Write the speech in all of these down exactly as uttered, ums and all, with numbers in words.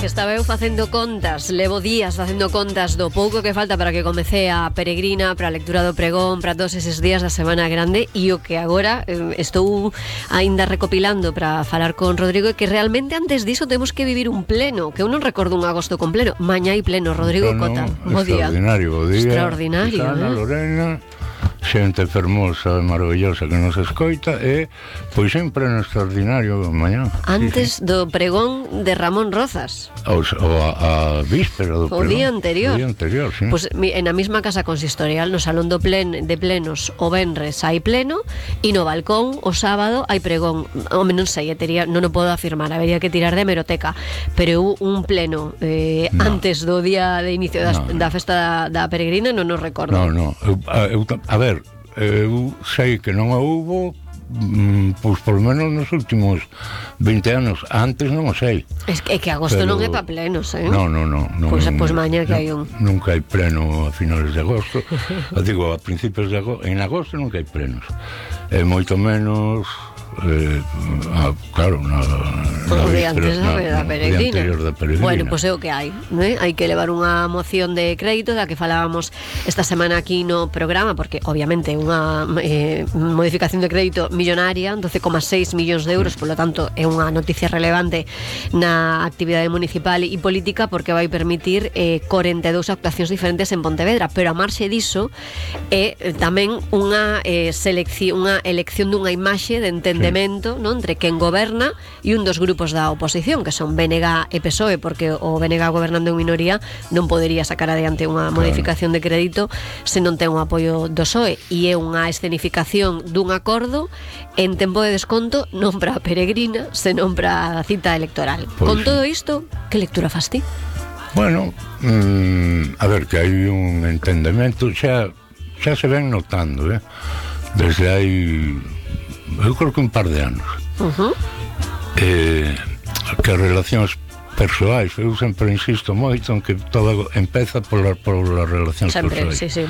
Que estaba eu facendo contas, levo días facendo contas do pouco que falta para que comece a peregrina, para a lectura do pregón, para todos eses días da Semana Grande, e o que agora eh, estou aínda recopilando para falar con Rodrigo é que realmente antes diso temos que vivir un pleno, que eu non recordo un agosto con pleno. Mañá hai pleno, Rodrigo pleno, Cota. Bo día. Extraordinario, bo día. Extraordinario, Susana, eh? Lorena, xente fermosa e maravillosa que nos escoita, e pois sempre no extraordinario mañá. Antes sí, sí. do pregón de Ramón Rozas. O, o a, a víspera do O pregón. día anterior. O día anterior, sí. Pues, en a mesma casa consistorial, no salón do plen, de plenos o venres hai pleno, e no balcón o sábado hai pregón. Home, non sei, tería, non o podo afirmar, habería que tirar de hemeroteca, pero un pleno eh, no. antes do día de inicio das, no, no. da festa da, da peregrina non nos recordo. No, no, eu, eu, a ver, eu sei que non a hubo, mm, pois por lo menos nos últimos vinte anos. Antes non o sei. É que, é que agosto pero... non é pa plenos, eh? No, no, no, no. Pois pues, pues mañá que no, hai un. Nunca hai pleno a finales de agosto. Digo, a principios de agosto. En agosto nunca hai plenos. E moito menos... Eh, ah, claro, na, na o día antes na, da, da peregrina. Da peregrina. Bueno, pois pues é o que hai, ¿eh? Hai que levar unha moción de crédito da que falábamos esta semana aquí no programa, porque obviamente é unha eh, modificación de crédito millonaria, doce coma seis millóns de euros, polo tanto é unha noticia relevante na actividade municipal e política, porque vai permitir eh, corenta e dous actuacións diferentes en Pontevedra, pero a marxe diso é eh, tamén unha eh, selección, unha elección dunha imaxe de entender ¿no? entre quen goberna e un dos grupos da oposición, que son B N G e P S O E, porque o B N G gobernando en minoría non podería sacar adiante unha modificación de crédito se non ten o apoio do P S O E, e é unha escenificación dun acordo en tempo de desconto, non para a peregrina, senón para a cita electoral. Pues con todo isto, que lectura fas ti? Bueno, mmm, a ver, que hai un entendemento, xa, xa se ven notando, eh? Desde hai... eu creo que un par de anos. Uh-huh. eh, que as relacións persoais, eu sempre insisto moito en que todo empeza polas pola relacións sempre, persoais, sí, sí.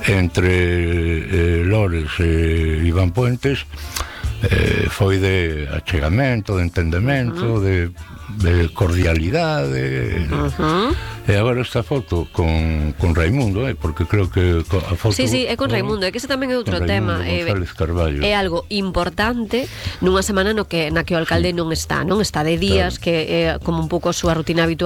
Entre eh, Lores e Iván Puentes, eh, foi de achegamento, de entendemento, uh-huh. de, de cordialidade. Uh-huh. E agora esta foto con, con Raimundo, eh, porque creo que a foto... Sí, sí, é con Raimundo, é que ese tamén é outro tema. É, é algo importante nunha semana no que, na que o alcalde sí. non está, non está de días, claro. que é como un pouco a súa rutina habitual